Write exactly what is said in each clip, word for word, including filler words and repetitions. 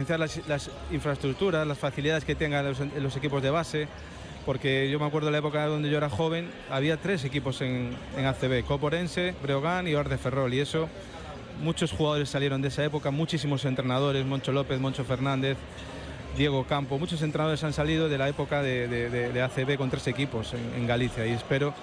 Las, las infraestructuras, las facilidades que tengan los, los equipos de base, porque yo me acuerdo de la época donde yo era joven, había tres equipos en, en A C B, Copa Orense, Breogán y Oar de Ferrol, y eso, muchos jugadores salieron de esa época, muchísimos entrenadores, Moncho López, Moncho Fernández, Diego Campo, muchos entrenadores han salido de la época de, de, de, de A C B con tres equipos en, en Galicia, y espero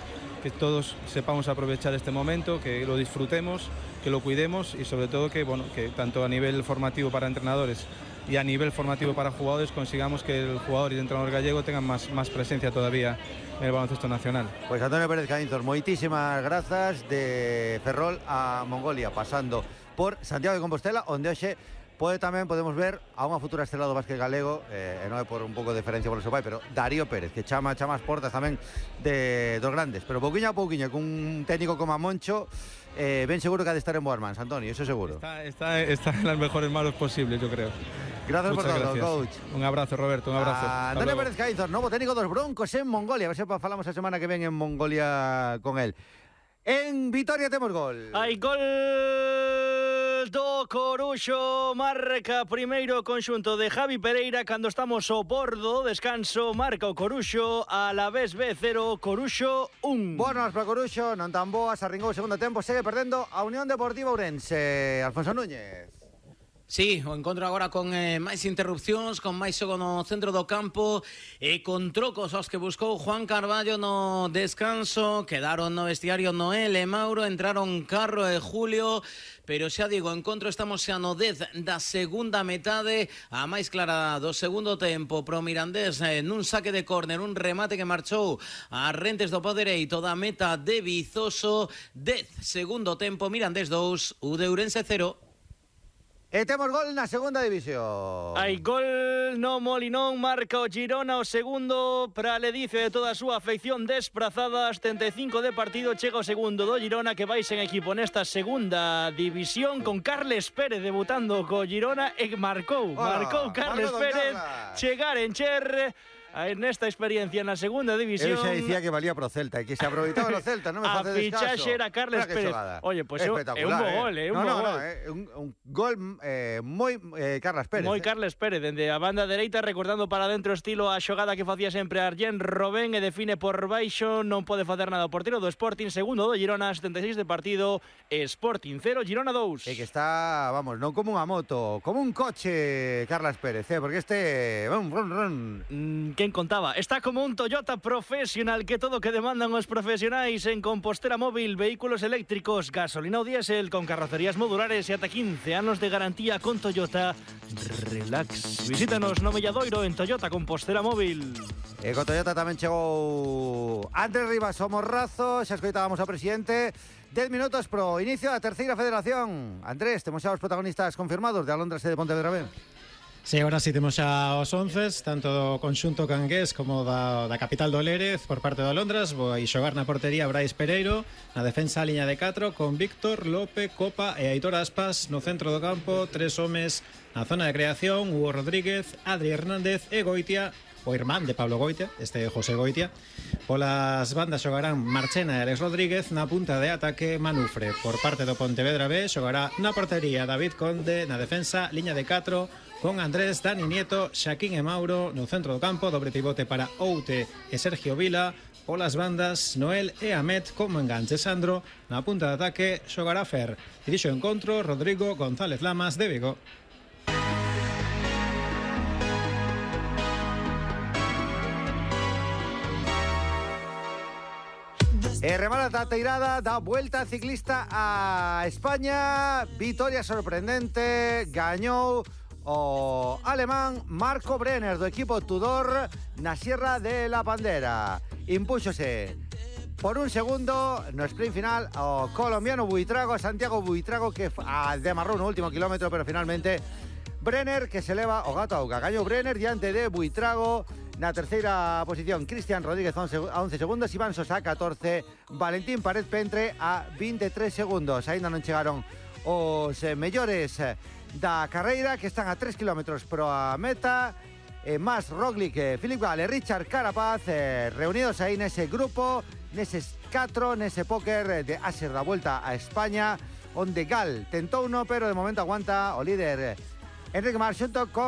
que todos sepamos aprovechar este momento, que lo disfrutemos, que lo cuidemos y sobre todo que, bueno, que tanto a nivel formativo para entrenadores y a nivel formativo para jugadores consigamos que el jugador y el entrenador gallego tengan más, más presencia todavía en el baloncesto nacional. Pues Antonio Pérez Caínzos, moitísimas grazas, de Ferrol a Mongolia, pasando por Santiago de Compostela, onde hoxe pode tamén podemos ver a unha futura estrela do básquet galego, eh, e non é por un pouco de diferencia por o seu pai, pero Darío Pérez, que chama, chama as portas tamén de, dos grandes, pero pouquiño a pouquiño, cun técnico como a Moncho, eh, ben seguro que ha de estar en boas mans, Antonio, eso seguro. Está, está, está en las mejores manos posibles, yo creo. Gracias Muchas por todo, gracias. coach. Un abrazo, Roberto, un abrazo. Ah, Antonio Pérez Caínzos, novo técnico dos Broncos en Mongolia, a ver se falamos a semana que ven en Mongolia con él. En Vitoria temos gol. Hai gol do Coruxo, marca primeiro conxunto de Javi Pereira cando estamos ao bordo, descanso, marca o Coruxo, a la vez B cero, Coruxo un. Boas para Coruxo, non tan boas, arringou o segundo tempo, segue perdendo a Unión Deportiva Ourense. Alfonso Núñez. Sí, o encontro agora con eh, máis interrupcións, con máis xogo no centro do campo e con trocos aos que buscou Juan Carballo no descanso. Quedaron no vestiario Noel e Mauro, entraron Carro e Julio, pero xa digo, encontro estamos xa no dez da segunda metade, a máis clara do segundo tempo pro Mirandés, eh, nun saque de córner, un remate que marchou a rentes do pó dereito da meta de Vizoso. Dez segundo tempo, Mirandés dous, U de Ourense cero. E temos gol na segunda división. Hai gol no Molinón, marca o Girona o segundo para ledicio de toda a súa afección desprazada, setenta e cinco de partido, chega o segundo do Girona que vai sen equipo nesta segunda división con Carles Pérez debutando co Girona e marcou, oh, marcou Carles Pérez, Carla. Chegar en Cher nesta experiencia na segunda división. Eu xa dicía que valía pro Celta e que se aproveitaba o Celta, non me a facedes caso. fichaxe era Carles Pérez. Oye, pois pues é un bo gol, é un no, bo no, gol. No, é un, un gol eh, moi eh, Carles Pérez. Moi eh. Carles Pérez, dende a banda dereita, recordando para dentro estilo a xogada que facía sempre Arjen Robben e define por baixo, non pode facer nada o portero do Sporting, segundo do Girona, setenta e seis de partido, Sporting cero, Girona dous. E que está, vamos, non como unha moto, como un coche Carles Pérez, eh, porque este run, run, run. Mm, quen contaba? Está como un Toyota Professional, que todo que demandan os profesionais en Compostela Móvil, vehículos eléctricos, gasolina ou diésel, con carrocerías modulares e ata quince anos de garantía con Toyota. Relax. Visítanos no Melladoiro en Toyota Compostela Móvil. E con Toyota tamén chegou Andrés Rivas o Morrazo, xa escoitábamos ao presidente. dez minutos pro inicio da terceira federación. Andrés, temos xa os protagonistas confirmados de Alondras e de Pontevedra Ben. Sí, ahora sí temos xa os once, tanto do conxunto cangués como da, da capital do Lérez por parte do Alondras. Vai xogar na portería Brais Pereiro, na defensa a liña de catro con Víctor, Lope, Copa e Aitor Aspas. No centro do campo, tres homes na zona de creación, Hugo Rodríguez, Adri Hernández e Goitia, o irmán de Pablo Goitia, este José Goitia. Polas bandas xogarán Marchena e Alex Rodríguez, na punta de ataque Manufre. Por parte do Pontevedra B xogará na portería David Conde, na defensa liña de catro con Andrés, Dani Nieto, Xaquín e Mauro. No centro do campo, dobre pivote para Oute e Sergio Vila. Polas bandas, Noel e Amet como enganche Sandro. Na punta de ataque xogará Fer. Dirixo o encontro Rodrigo González Lamas de Vigo. E remata a teirada da Vuelta Ciclista a España. Vitoria sorprendente, gañou o alemán Marco Brenner do equipo Tudor na Sierra de la Bandera. Impúxose por un segundo no sprint final o colombiano Buitrago, Santiago Buitrago, que demarrou no último kilómetro, pero finalmente Brenner que se leva o gato a auga. Gañou Brenner diante de Buitrago. Na terceira posición, Cristian Rodríguez a once segundos, Iván Sosa a catorce, Valentín Pared Pentre a veintitrés segundos. Ainda non chegaron os mellores da carreira, que están a tres kilómetros pro a meta. Eh, Mas Roglic, Philip Gall e Richard Carapaz eh, reunidos aí nese grupo, neses catro, nese póker de Aser da Vuelta a España, onde Gall tentou uno, pero de momento aguanta o líder Enrique Mar xunto con